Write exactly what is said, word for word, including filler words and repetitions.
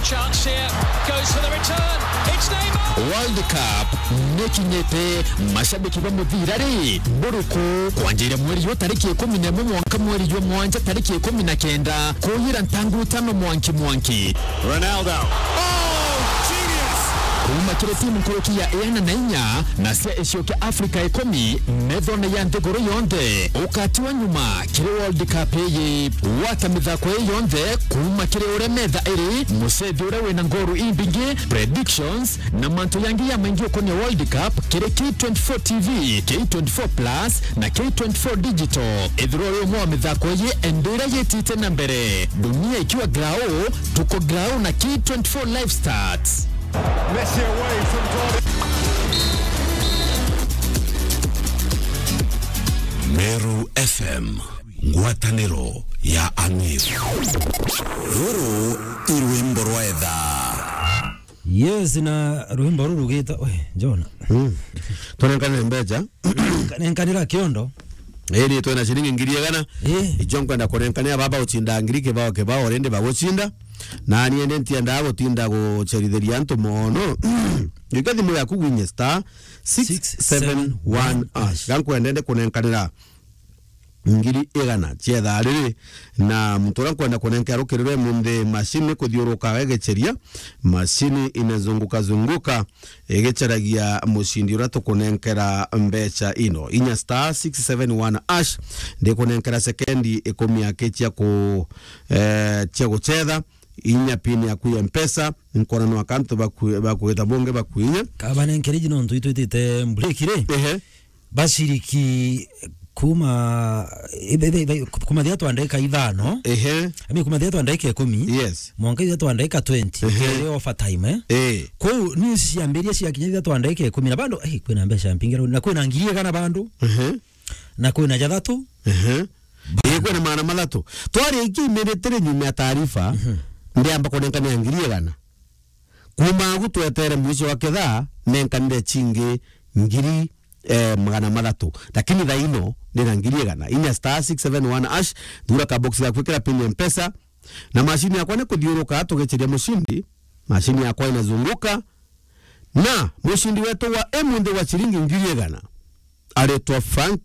Chance here, goes for the return. It's Neymar. World Cup nikinyite, mashabiki ba muthira ri, buruku kwanjiria mweri yu tariki ikumi na imwe mwanka mweri jwa mwanja tariki ikumi na kenda, kuyira ntangu itano mwanki mwanki. Ronaldo. Oh, genius! Kuuma kiri timu nkuruki ya ina na inya na cia icio kia Afrika ikumi, methone ya nthiguru yonthe ukatiwa nyuma kiri World Cup iyi. Gwata mithako ii yonthe kuuma kiri uria metha iri, mucethi uria wina ngoru imbingi, predictions, na mantu yangi ya maingi ukonia World Cup kiri K twenty-four T V, K twenty-four Plus, na K twenty-four Digital. Ithirwa uri umwe wa mithako ii, endera yitite na mbere. Dunia ikiwa grau, tuko grau na K twenty-four Live Stats. Messi away from goal. Meru F M, ngwataniro ya ang'iri. Ruru i rwimbo rwa etha. Yes, na rwimbo ruru rugita, we, John. Mm. Tunenkane mbeca. Nenkanira kiondo. Iri twina ciringi ngiri igana. Eh. Icio nkwenda kunenkanira baba ucinda ngiri kibao kibao, already bagucinda. Na ni ende ntiendaga gutinda gucerithiria antu mono. Gika thimu yaku gwinye star six seven one hash. Gankwenda ende kunenkanira ngiri igana cia ithaa riri, na muntu uria nkwenda kunenkera rukirirwe munthi, mashini kuthiurukaga igiceria, mashini inazunguka zunguka igicaragia mucindi uria tukunenkera mbeca ino. Inya star six seven one hash, ndikunenkera sekendi ikumi aki cia ku, eh, cia gucetha, inya pin yaku ya Mpesa, nkona no akantu baku-, bakugita bungi bakuinya. Kabanenkere iji nontu itwitite break ri. Ehe. Baciriki kuma, ithe-, ithe-, ithe-, kuma thia twa ndagika ithano. Ehe. Ami kuma thia twa ndagika ikumi. Yes. Mwanka thia twa ndagika twenty. Ehe. Kere overtime, eh? Eh. Kou news ciambiria ciakinya thia twa ndagika ikumi. Na bando, eh, kwina mbeca mpingi rau. Na kwina ngiri igana bando. Ehe. Na kwina jathatu. Ehe. Ii, kwina magana mathatu. Twaria iki imeretire nyuma ya taarifa, mhm, ndiamba kunenkania ngiri igana. Kuma agu twetere mwisho wa ketha, nenkanire chingi ngiri, eh, magana mathatu. Lakini thaa ino, ndina ngiri igana. Inya star six seven one hash, thura ka box gaku, ikira pin ya Mpesa, na mashini yakwa ni kuthiuruka tugiceria mushindi. Mashini yakwa inazunguka, na mushindi wetu wa emunthi wa ciringi ngiri igana aritwa Frank